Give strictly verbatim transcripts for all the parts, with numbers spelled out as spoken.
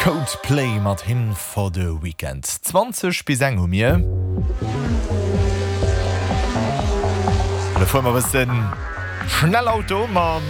Coldplay mat Hymn for the Weekend. Zwanzeg bis eng hu mir. An da fuere mer e bëssen schnell Auto mat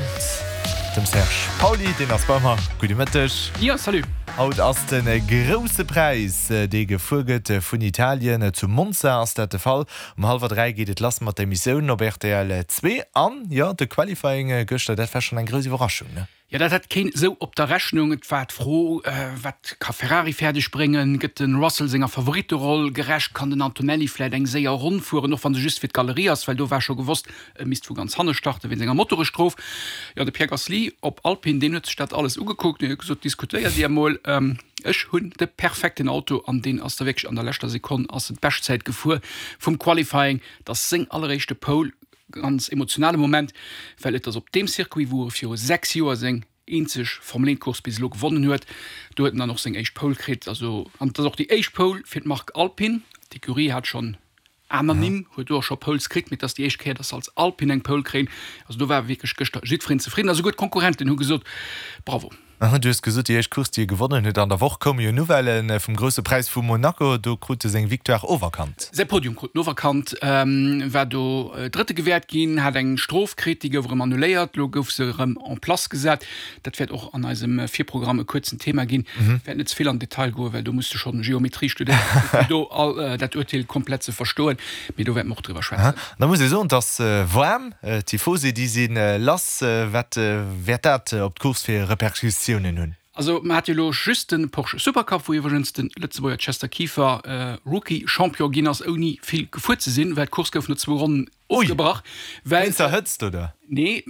dem Serge Pauly, deen ass bei mer. Gudde Mëtteg. Jo, salut. Haut ass de Grousse Präis, dee gefuer gëtt vun Italien. Zu Monza ass dat de Fall. Um hallwer dräi geet et lass mat der Emissioun op rtl zwee. An jo, de Qualifying gëschter, dat war schonn eng grouss Iwwerraschung, ne? Jo, dat hat keen esou op der Rechnung. Et war d'Fro, Wat ka Ferrari fäerdeg bréngen? Gëtt de Russell senger Favoritteroll gerecht? Kann den Antonelli vläit eng séier Ronn fueren, och wa se just fir d'Galerie ass, well do war scho gewosst, e misst vu ganz hanne starten wéinst enger Motorestrof. Jo, de Pierre Gasly op Alpine, deen huet sech dat alles ugekuckt an huet gesot, Diskutéiert Dir emol, ech hunn de perfekten Auto. An deen ass da wierklech an der leschter Sekonn ass en d'Beschtzäit gefuer vum Qualifying. Et ass seng alleréischte Pole, ganz emotionale Moment, well et ass op deem Circuit, wou e viru sechs Joer seng eenzeg Formel eent Course bis elo gewonnen huet. Do huet en dann och seng éischt Pole kritt. Also, an et ass och déi éischt Pole fir d'Mark Alpine. D'Ecurie hat schonn aner Nimm, huet do och scho Poles kritt, mee et ass déi éischt Kéier, datt se als Alpine eng Pole kréien. Also do war wierklech gëschter jiddwereen zefridden a souguer d'Konkurrenten hu gesot, Bravo. Du hues gesot, déi éischt Course, déi e gewonnen huet. An der Woch koume jo Nouvellë vum Grousse Präis vu Monaco. Do krut e seng Victoire oferkannt. Säi Podium krut en oferkannt, war do Drëtte gewäert ginn, hat eng Strof kritt, déi gouf erëm annuléiert. Elo gouf se erëm en place gesat. Dat wäert och an eisem Virprogramm e kuerzen Thema ginn. Wäert net ze vill an den Detail goen, well do muss de schonn Geometrie studéieren, fir do all dat Urteel komplett ze verstoen. Mee do wäerte mer och driwwer schwätzen. Da muss ee soen, et ass waarm. D'Tifosi, déi si lass. Wat wäert dat op d'Course fir Repercussiounen hunn? Also mer hate jo elo just de Porsche Supercup, wou iwwregens de Lëtzebuerger Chester Kieffer Rookie Champion ginn ass, ouni vill gefuer ze sinn, well d'Course gouf no zwou Ronnen ofgebrach. Wéinst der Hëtzt, oder? Nee,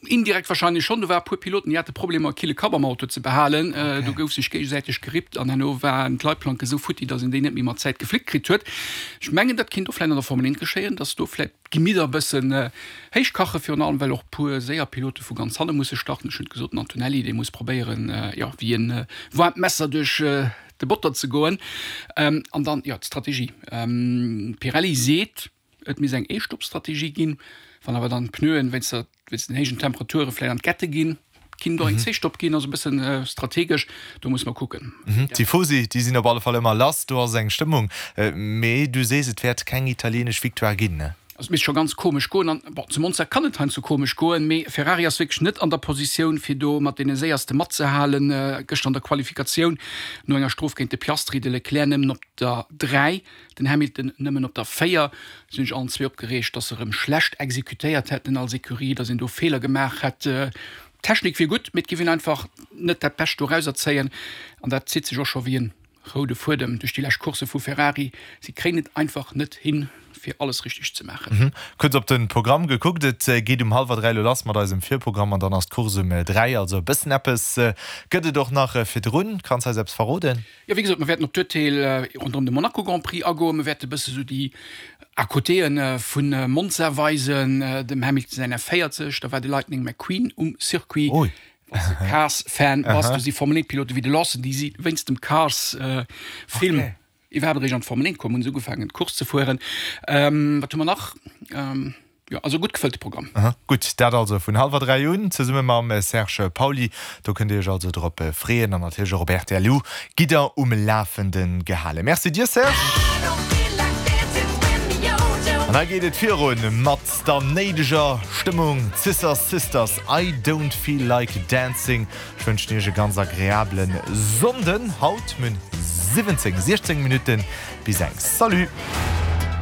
indirekt wahrscheinlech schonn. Do war e puer Piloten, déi hate Problemer, e kille Kapp am Auto ze behalen. Do gouf sech géigesäiteg gerippt an herno waren d'Leitplanke sou futti, datt een déi net méi mat Zäit geflickt kritt huet. Ech mengen, dat kinnt och vläicht an der Formel eent geschéien, datt do vläicht d'Gemidder e bëssen héich kachen, virun allem well och e puer séier Pilote vu ganz hanne musse starten. Ech hunn et gesot, den Antonelli, dee muss probéieren, jo, wéi e waarmt Messer duerch de Botter ze goen. An dann, jo, d'Strategie. Pirelli seet, et misst eng Ee-Stopp-Strategie ginn. Wann awer dann d'Pneuen wéinst der, wéinst den héijen Temperature vläicht an d'Kette ginn, kinnt och eng Zweestopp ginn, also e bëssen strategesch, do muss mer kucken. D'Tifosi, déi sinn op alle Fall ëmmer lass, do ass eng Stëmmung. Mee du sees, et wäert keng italienesch Victoire ginn, ne? Also et misst scho ganz komesch goen an, bon, zu Monza kann et heiansdo komesch goen, mee Ferrari ass wierklech net an der Positioun, fir do mat deene Séierste matzehalen. Gëschter an der Qualifikatioun no enger Strof géint de Piastri, de Leclerc nëmmen op der dräi, den Hamilton nëmmen op der véier. Si hunn sech allen zwee opgereegt, dass se erëm schlecht exekutéiert hätten als Ecurie, dass een do Feeler gemaach hätt. D'Technik wier gutt, mee et géif een einfach net dat Bescht dorauser zéien an dat zitt sech och scho wéi en Roude Fuedem duerch déi lescht Coursse vu Ferrari, si kréien et einfach net hin, fir alles richteg ze maachen. Kuerz op de Programm gekuckt, et geet um hallwer dräi elo lass mat eisem Virprogramm an dann ass d'Course um dräi. Also e bëssen eppes gëtt et och nach virdrun. Kanns eis eppes verroden? Jo, wéi gesot, mer wäerten op d'Urteel ronderëm de Monaco Grand Prix agoen. Mer wäerte bësse sou déi À-côtéë vu Monza weisen, dem Hamilton säin F véierzeg, da war de Lightning McQueen um Circuit. Wann s de Cars-Fan bass, do si Formel-eent-Pilote wéi de Lawson, déi si wéinst dem Cars-Film iwwerhaapt eréischt an d'Formel eent komm, hunn se ugefaangen d'Course ze fueren. Wat hu mer nach? Jo, also e gutt gefëllte Programm. Gutt, dat also vun hallwer dräi un, zesumme mam Serge Pauly. Do kënnt Dir Iech also drop freeën an natierlech och op rtl Lu gitt Der um Lafende gehalen. Merci dir, Serge. An hei geet et virun mat der néideger Stëmmung, Scissor Sisters, I Don't Feel Like Dancing. Ech wënschen iech e ganz agreablen Sonnden. Haut mün siwwenzéng, siechzéng Minutten bis eng. Salut!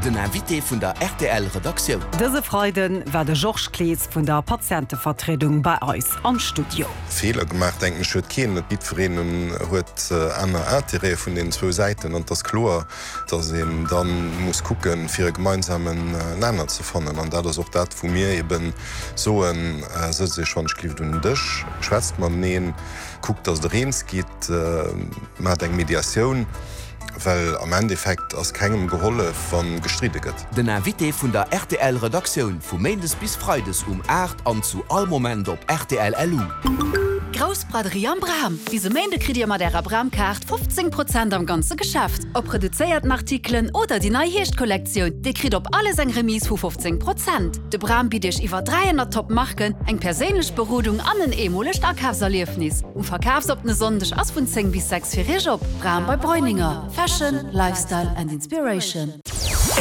Den Invité vun der rtl Redaktioun. Dëse Freide war de Georges Clees vun der Patientevertriedung bei eis am Studio. Feeler gemaach, denken ech, huet keen. Jiddwereen huet aner Intérêtë vun deenen zwou Säiten an et ass kloer, dass een da muss kucken, fir e gemeinsamen Nenner ze fannen. An dat ass och dat, wou mir eebe soen, Sëtzt Iech wann-ech-gelift un den Dësch, schwätzt mateneen, kuckt, dass Der eens gitt, maacht eng Mediatioun, well am Endeffekt ass kengem gehollef, wa gestridde gëtt. Den Invité vun der RTL-Redaktioun, vu méindes bis freides um aacht an zu all Moment op rtl. Lu. grouss Braderie am Bram. Bis e Méinde kritt Dir mat Ärer Bram-Kaart fofzéng Prozent am ganze Geschäft. Ob reduzéierten Artikelen oder déi nei Hierschtkollektioun, Dir kritt op alles eng Remise vu fofzéng Prozent. De Bram bitt Iech iwwer dräihonnert Top Marken, eng perséinlech Berodung an en eemolegt Akafserliefnis. Um verkafsoppene Sonndeg ass vun zéng bis sechs fir Iech op. Bram bei Breuninger. Fashion, Lifestyle and Inspiration.